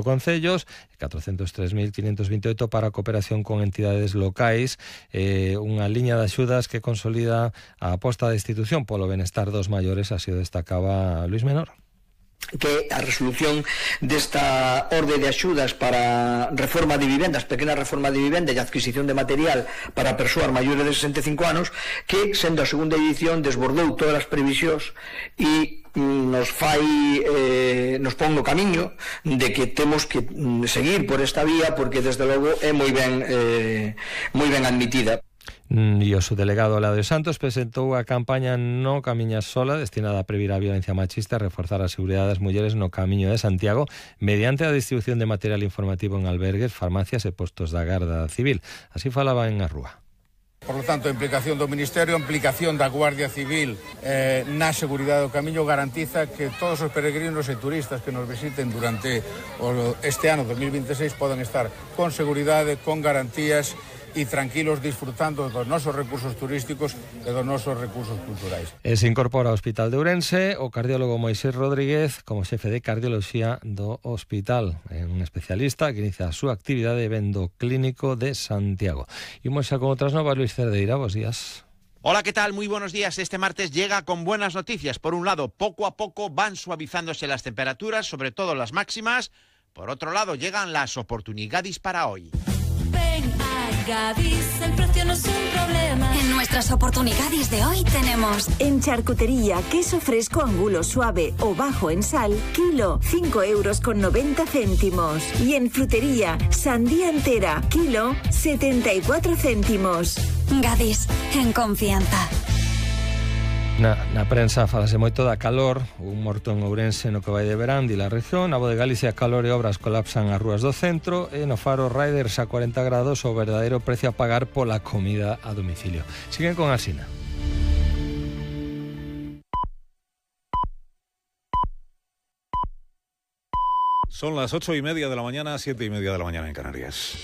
concellos, 403.528 para a cooperación con entidades locais, unha liña de axudas que consolida a aposta da institución polo benestar dos maiores, así o destacaba Luis Menor. Que a resolución desta orde de axudas para reforma de vivendas, pequena reforma de vivenda e adquisición de material para persoas maiores de 65 anos, que, sendo a segunda edición, desbordou todas as previsións e nos pon no camiño de que temos que seguir por esta vía, porque desde logo é moi ben admitida. E o subdelegado Eladio Santos presentou a campaña No Camiñas Sola, destinada a previr a violencia machista e reforzar a seguridade das mulleres no Camiño de Santiago mediante a distribución de material informativo en albergues, farmacias e postos da Garda Civil. Así falaba en a rúa. Por lo tanto, a implicación do Ministerio, a implicación da Guardia Civil na seguridade do Camiño garantiza que todos os peregrinos e turistas que nos visiten durante este ano 2026 podan estar con seguridade, con garantías e tranquilos disfrutando dos nosos recursos turísticos e dos nosos recursos culturais. Se incorpora ao Hospital de Ourense o cardiólogo Moisés Rodríguez como xefe de cardioloxía do hospital. É un especialista que inicia a súa actividade vendo clínico de Santiago. Imos xa con outras novas. Luis Cerdeira, bos días. Hola, ¿qué tal? Muy buenos días. Este martes llega con buenas noticias. Por un lado, poco a poco van suavizándose las temperaturas, sobre todo las máximas. Por otro lado, llegan las oportunidades para hoy. Ven a Gadis, el precio no es un problema. En nuestras oportunidades de hoy tenemos en charcutería queso fresco angulo suave o bajo en sal, kilo 5,90 €. Y en frutería sandía entera, kilo 74 céntimos. Gadis, en confianza. Na prensa falase moito da calor, un morto en Ourense no que vai de verán e la región. Na Voz de Galicia, calor e obras colapsan as rúas do centro e no Faro Riders a 40 grados o verdadeiro precio a pagar pola comida a domicilio. Siguen con Asina. Son las 8:30 de la mañana, 7:30 de la mañana en Canarias.